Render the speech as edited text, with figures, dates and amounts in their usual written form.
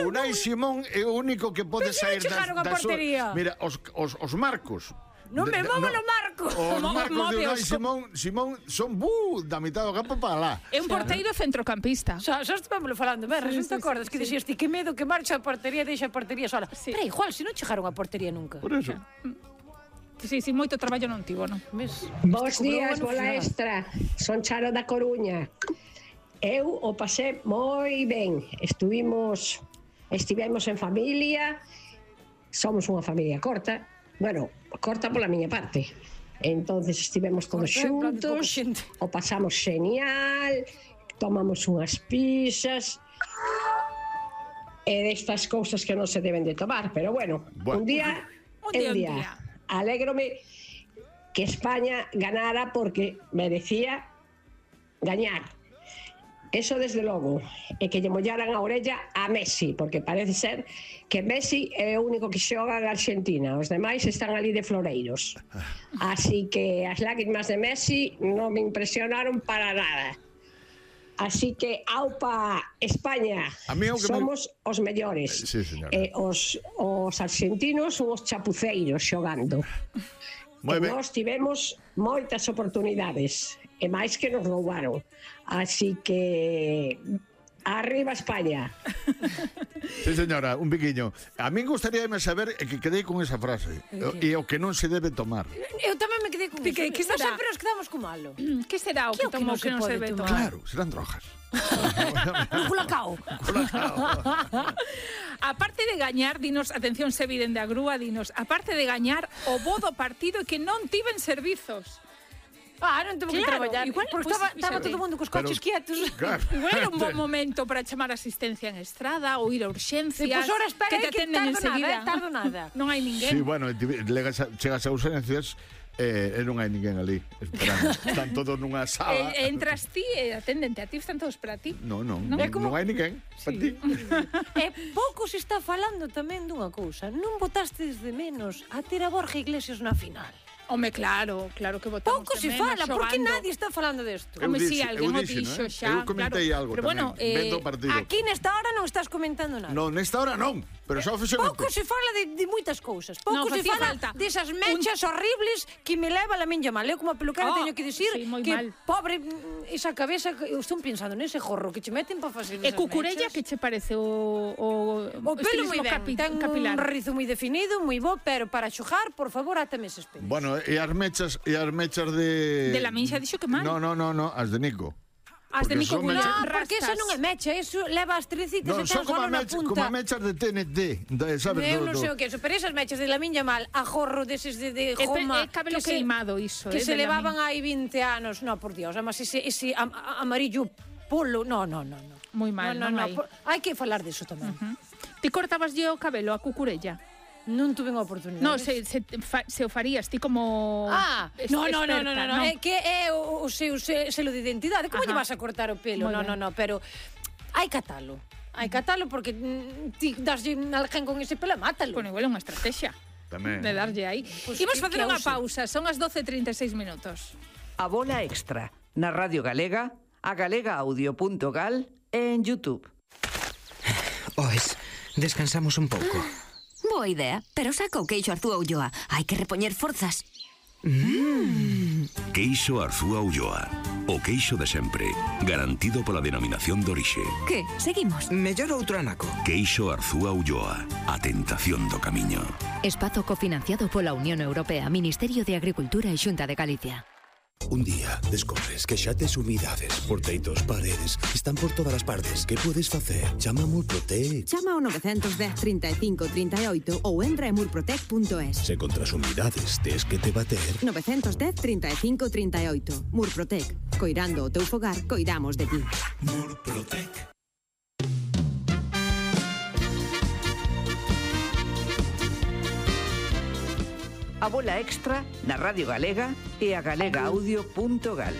Unai Simón é o único que pode sair da portería. Mira, os marcos. Non me movo no marco. Os marcos de Unai Simón son da mitad do campo para lá. É un porteiro centrocampista. Xa estivamos falando, Berra, non te acordas que dixías ti que medo que marcha a portería, deixa a portería sola. Pero igual, se non chegaron a portería nunca. Por eso. Sí, moito traballo non tivo, non? Bos días, bola extra. Son Charo da Coruña. Eu o pasé moi ben. Estivemos en familia. Somos unha familia corta. Bueno, corta pola miña parte. Entonces estivemos todos xuntos, o pasamos genial, tomamos unhas pizzas e destas cousas que non se deben de tomar, pero bueno. Un día é un día. Alégrome que España ganara porque merecía gañar. Eso desde logo, e que lle mollaran a orella a Messi, porque parece ser que Messi é o único que xoga en Argentina, os demais están ali de floreiros. Así que as lágrimas de Messi non me impresionaron para nada. Así que, aupa, España, somos os mellores. Sí, Os argentinos son os chapuceiros xogando. Nós tivemos moitas oportunidades e máis que nos roubaron. Así que arriba España. Sí, señora, un piquiño. A mí gustaríame saber que quedei con esa frase e o que non se debe tomar. Eu tamén me quedei con eso. Que será? Sempre nos quedamos con malo. Que será o que tomou que non se debe tomar? Claro, serán drogas. Culacao. Aparte de gañar, dinos, atención, Seviden de a grúa, dinos, aparte de gañar, o bo do partido que non tiven servizos. Non temos que traballar. Igual, porque estaba todo o mundo cos coches quietos. Igual era un bon momento para chamar asistencia en estrada ou ir a urxencias. Pois ora espera, que te atenden enseguida. Tardo nada. Non hai ninguén. Sí, bueno, chegas a urxencias e non hai ninguén ali esperando. Están todos nunha sala. Entras ti e atendente a ti, están todos para ti. Non hai ninguén para ti. E pouco se está falando tamén dunha cousa. Non botastes de menos a ter a Borja Iglesias na final. Home, claro que votamos pouco se fala, por que nadie está falando desto? Home, si, alguén o dixo xa. Eu comentei algo tamén, vendo o partido. Aquí nesta hora non estás comentando nada. Non, nesta hora non, pero xa oficialmente. Pouco se fala de moitas cousas. Pouco se fala desas mechas horribles que me leva a miña mal. Eu como peluquera teño que dicir que pobre esa cabeza, eu estou pensando nese jorro que che meten para facer esas mechas. E Cucurella, que che parece o pelo moi ben, ten un rizo moi definido, moi bo, pero para xogar, por favor, átame eses pelos. Bueno, e as mechas de... De la minxa dixo que mal. No, as de Nico. As de Nico Gullón rastas. Porque esa non é mecha, eso leva as trecitas e ten son solo na punta. como mechas de TNT, sabes? Eu non sei o que é eso, pero esas mechas de la miña mal, a jorro deses de goma... É cabelo queimado iso. Que se levaban hai 20 anos. No, por Dios, además ese amarillo polo, no. Moi mal, non hai. Hai que falar diso tamén. Ti cortabas o cabelo a Cucurella? Non tuve unha oportunidade. Non, se o farías ti como experta. É que é o seu selo de identidade. Como lle vas a cortar o pelo? Non, pero hai catalo. Hai catalo porque ti daslle alguén con ese pelo, mátalo. Bueno, igual é unha estrategia. Tamén. De darlle aí. Imos facer unha pausa, son as 12:36 minutos. A bola extra, na Radio Galega, a galegaaudio.gal e en YouTube. Descansamos un pouco. Boa idea, pero saca o queixo Arzúa Ulloa. Hai que repoñer forzas. Queixo Arzúa Ulloa. O queixo de sempre, garantido pola denominación de orixe. Que? Seguimos? Mellor outro anaco. Queixo Arzúa Ulloa. A tentación do camiño. Espazo cofinanciado pola Unión Europea, Ministerio de Agricultura e Xunta de Galicia. Un día descobres que xa tes humidades por teitos, paredes, están por todas as partes. Que podes facer? Chama a Murprotec. Chama ao 910 35 38 ou entra en murprotec.es. Se contra as humidades tes que te bater. 910 35 38. Murprotec. Coirando o teu fogar, coidamos de ti. Murprotec. A bola extra na Radio Galega e a galegaaudio.gal.